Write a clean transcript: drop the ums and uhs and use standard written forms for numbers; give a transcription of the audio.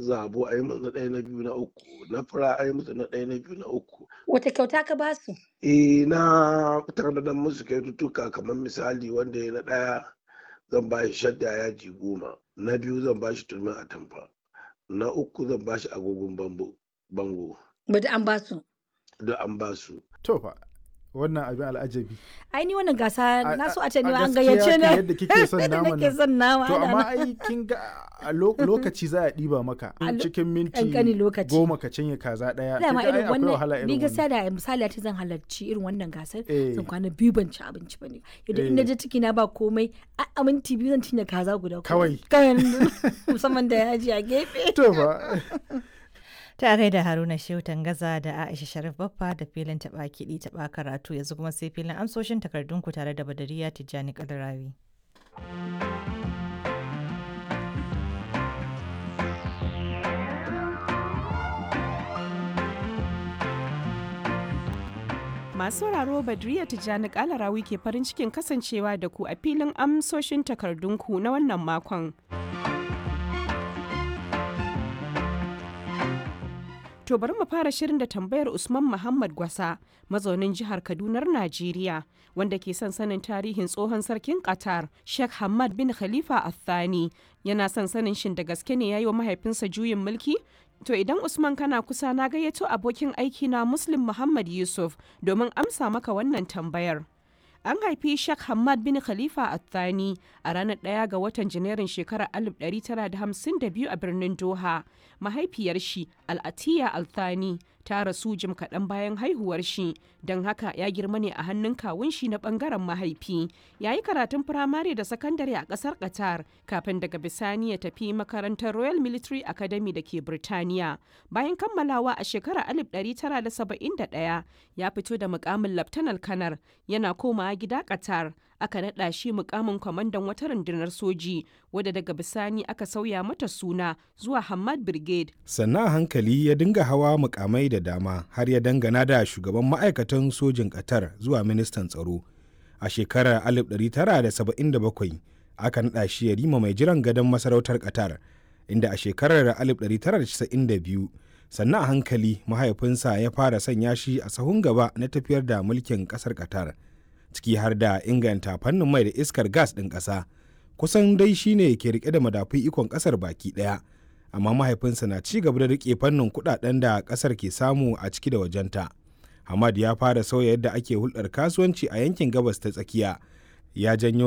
zabo a yi musu na ɗaya, na biyu, na uku, na fura a yi musu na ɗaya, na biyu, na uku. Wata kyauta ka ba su? Eh, na tanadar musu kyaututtuka, kamar misali wanda ya na ɗaya zan ba shi shadda yaji 10, na biyu zan ba shi turmin atamfa, na uku zan ba shi agogon bango. Bada an ba su. Duk an ba su. To fa, wannan abin al'ajabi. Ai ni wannan gasa na so a ce ni A ma an gaskiya gayyace kan ni. yadda kike son Yadda naman nake nan. son nama To ana amma nan. ai kin ga a lokaci za a ɗiba maka A cikin minti ƙanƙanin lokaci. 10 ka cinye kaza ɗaya. Kin Dama ga ai irin akwai wahala wannan irin ni gaskiya wannan. da misali a ce zan halarci irin wannan gasar, zan kwana 2 ban ci abinci ba ne. Yadda in naje ciki na ba komai, a minti 2 zan cinye kaza guda Kawai. Kawai musamman da yaji a gefe. To fa. Ta gaida Haruna Shehu Tangaza da Aisha Sharif Baffa da filin taɓa kiɗi taɓa karatu, yanzu kuma sai filin amsoshin takardunku tare da Badariya Tijjani Kalarawi. Masu sauraro, Badriya Tijjani Kalarawi ke farin cikin kasancewa da ku a filin amsoshin takardunku na wannan makon. To bari mu fara shirin da tambayar Usman Muhammad Gwasa, mazaunin jihar Kadunar Najeriya, wanda ke son sanin tarihin tsohon sarkin Qatar, Sheikh Hamad bin Khalifa Al-Thani. Yana son sanin shin da gaske ne ya yi wa mahaifinsa juyin mulki? To idan Usman kana kusa, na gayyato abokin aiki na Muslim Muhammad Yusuf domin amsa maka wannan tambayar. An haifi Sheikh Hamad bin Khalifa Al-Thani a ranar 1 ga watan Janairun shekarar 1952 a birnin Doha. Mahaifiyar shi, Al-Atiya Al-Thani, ta rasu jim kaɗan bayan haihuwar shi, don haka ya girma ne a hannun kawun shi na ɓangaren mahaifi. Ya yi karatun firamare da sakandare a ƙasar Qatar kafin daga bisani ya tafi makarantar Royal Military Academy da ke Birtaniya. Bayan kammalawa a shekarar 1971, ya fito da mukamin Laftanar Kanar, yana komawa gida Qatar. Aka naɗa shi mukamin kwamandan wata rundunar soji wadda daga bisani aka sauya mata suna zuwa Hamad Brigade. Sannan a hankali ya dinga hawa mukamai da dama har ya dangana da shugaban ma'aikatan sojin Qatar zuwa ministan tsaro. A shekarar 1977 aka naɗa shi yarima mai jiran gadon masarautar Qatar, inda a shekarar 1992 sannan a hankali mahaifinsa ya fara sanya shi a sahun gaba na tafiyar da mulkin ƙasar Qatar, ciki har da inganta fannin mai da iskar gas ɗin ƙasa. Kusan dai shine ke rike da madafun ikon ƙasar baki ɗaya, amma mahaifinsa na ci gaba da rike fannin kuɗaɗen da ƙasar ke samu a ciki da wajenta. Hamad ya fara sauya yadda ake hulɗar kasuwanci a yankin Gabas ta Tsakiya. Ya janyo